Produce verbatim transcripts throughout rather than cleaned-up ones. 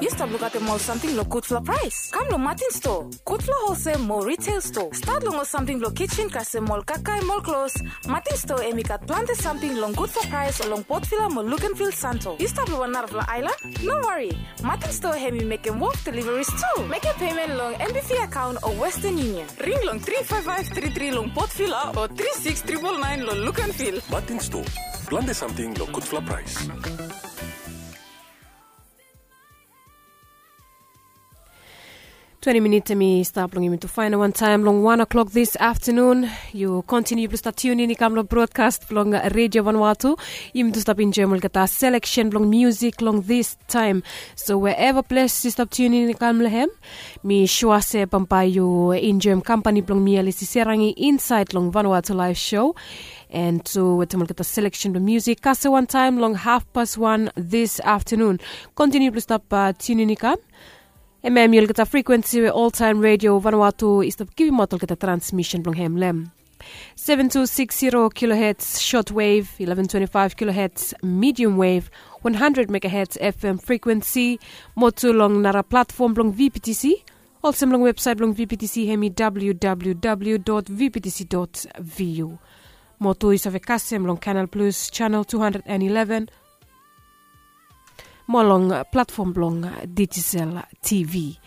Yu stap lukaotem ol samting long gudfala praes? Kam long Martin Store, gudfala holsel mo retail store. Stat long ol samting blong kitchen kasem ol kakae mo ol klos. Martin Store em i gat plante samting long gudfala praes long Port Vila mo Luganville Santo. Yu stap long wan narafala aelan? No wari. Martin Store hem i mekem wok deliveries tu. Mekem payment long M B V account o Western Union. Ring long three five five three three long Port Vila o three six triple nine long Luganville. Martin Store. Plante samting long gudfala praes. Twenti minit em i stap long yumi tu fainal wantaem long wan o'clock this afternoon. Yu kontiniu blong stap tiunin i kam long brodkas blong Redio Vanuatu. Yumi tu stap enjoem olgeta seleksen blong musik long this taem. So wherever ples yu stap tiunin i kam long hem, mi sua se bambae yu enjoem kampani blong mi Alisi Serangi insaed long Vanuatu Live Show. And tu wetem olgeta seleksen blong musik kasem wantaem long hafpas wan this afternoon. Kontiniu blong stap tiunin i kam. Hemia hemi olgeta frekuensi we oltaem Redio Vanuatu i stap givimaot olgeta transmisen blong hem long hem. Seven two six zero kilohertz shortwave, eleven twenty-five kilohertz medium wave, one hundred megahertz F M frekuensi, mo tu long nara platfom blong V P T C, olsem long websaet blong V P T C hemi W W W dot V P T C dot V U. Mo tu yu save kasem long Canal Plus channel two hundred and eleven, mo long platfom blong Digicel T V.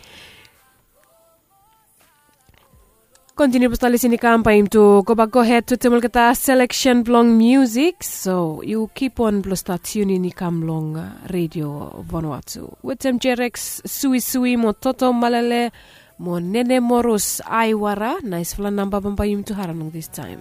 Kontiniu blong stap lisin i kam bae yumi tu gobak gohed wetem olgeta seleksen blong musik. So yu kipon blong stap tiunin i kam long Redio Vanuatu wetem Jerex Suisui mo Toto Malele mo Nene Morus Aiwara. Naesfala namba bambae yumi tu harem long this taem.